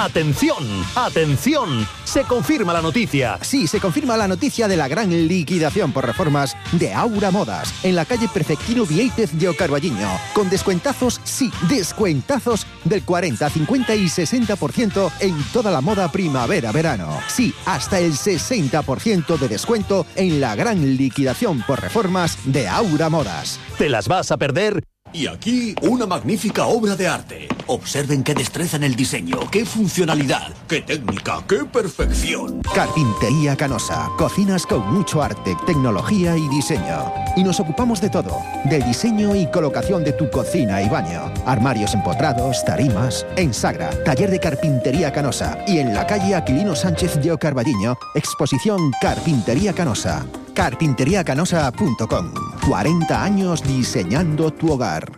¡Atención! ¡Atención! Se confirma la noticia. Sí, se confirma la noticia de la gran liquidación por reformas de Aura Modas en la calle Perfectino Viéitez de Carballiño. Con descuentazos, sí, descuentazos del 40, 50 y 60% en toda la moda primavera-verano. Sí, hasta el 60% de descuento en la gran liquidación por reformas de Aura Modas. ¿Te las vas a perder? Y aquí, una magnífica obra de arte. Observen qué destreza en el diseño, qué funcionalidad, qué técnica, qué perfección. Carpintería Canosa. Cocinas con mucho arte, tecnología y diseño. Y nos ocupamos de todo. Del diseño y colocación de tu cocina y baño. Armarios empotrados, tarimas. En Sagra, taller de Carpintería Canosa. Y en la calle Aquilino Sánchez de Carballiño, exposición Carpintería Canosa. Carpinteriacanosa.com. 40 años diseñando tu hogar.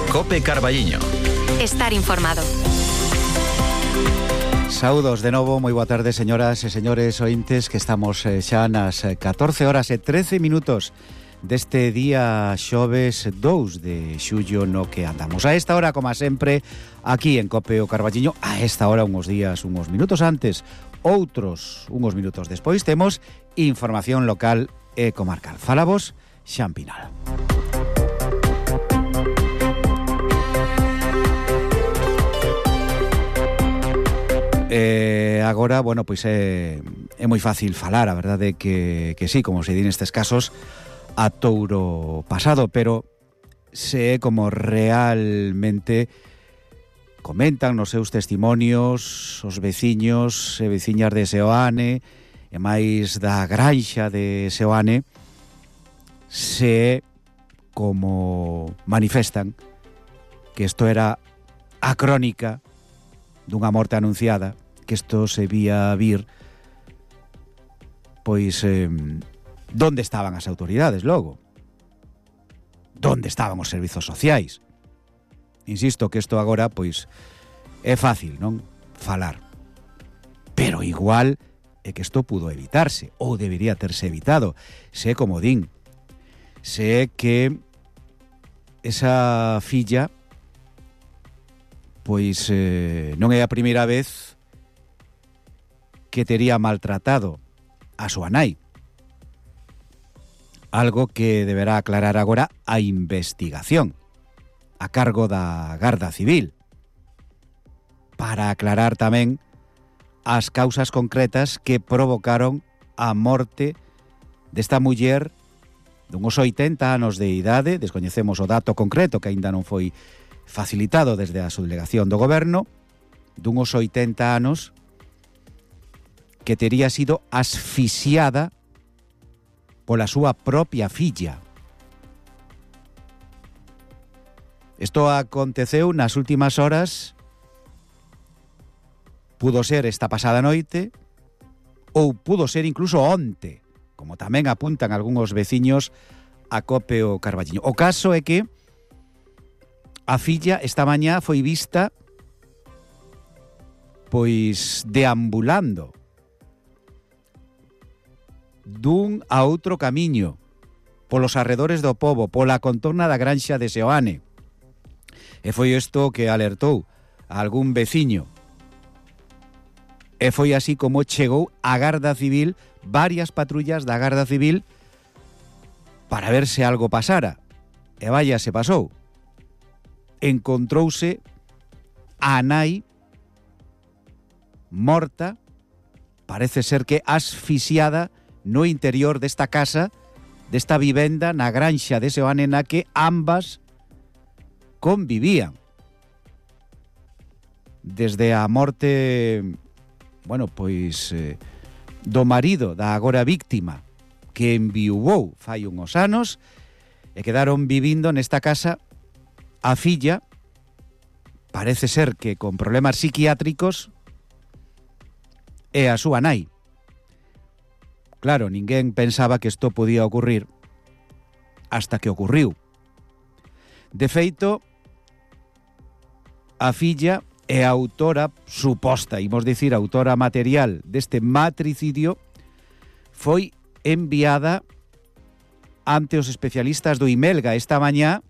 COPE Carballiño. Estar informado. Saúdos de novo, moi boa tarde, señoras e señores ointes, que estamos xa nas 14 horas e 13 minutos deste día xoves 2 de xullo no que andamos. A esta hora, como sempre, aquí en COPE o Carballiño, a esta hora, uns minutos antes, outros uns minutos despois, temos información local e comarcal. Falamos Xan Pinal. Agora, bueno, pois é moi fácil falar, a verdade que sí, como se di nestes casos, a touro pasado, pero se é como realmente comentan nos seus testimonios os veciños e veciñas de Seoane e máis da granxa de Seoane, se é como manifestan que isto era a crónica dunha morte anunciada, que isto se vía vir, pois donde estaban as autoridades logo? Donde estaban os servizos sociais? Insisto que isto agora, pois, é fácil, non? Falar. Pero igual é que isto pudo evitarse, ou debería terse evitado. Se é como din. Se é que esa filla, pois, non é a primeira vez que tería maltratado a súa nai. Algo que deberá aclarar agora a investigación a cargo da Garda Civil, para aclarar tamén as causas concretas que provocaron a morte desta muller dunhos 80 anos de idade. Descoñecemos o dato concreto, que aínda non foi facilitado desde a subdelegación do goberno, dunhos 80 anos, que tería sido asfixiada pola súa propia filla. Isto aconteceu nas últimas horas, pudo ser esta pasada noite, ou pudo ser incluso onte, como tamén apuntan algúns veciños a COPE o Carballiño. O caso é que a filla esta mañá foi vista pois deambulando dun a outro camiño polos arredores do pobo, pola contorna da granxa de Seoane. E foi isto que alertou a algún veciño. E foi así como chegou a Garda Civil, varias patrullas da Garda Civil, para ver se algo pasara. E vaya, se pasou. Encontrouse a nai morta, parece ser que asfixiada, no interior desta casa, desta vivenda na granxa de Seoane, na que ambas convivían. Desde a morte, bueno, pois, do marido da agora víctima, que enviuvou fai uns anos, e quedaron vivindo nesta casa a filla, parece ser que con problemas psiquiátricos, e a súa nai. Claro, ninguén pensaba que isto podía ocurrir hasta que ocurriu. De feito, a filla é a autora suposta, imos dicir, autora material deste matricidio, foi enviada ante os especialistas do Imelga esta mañá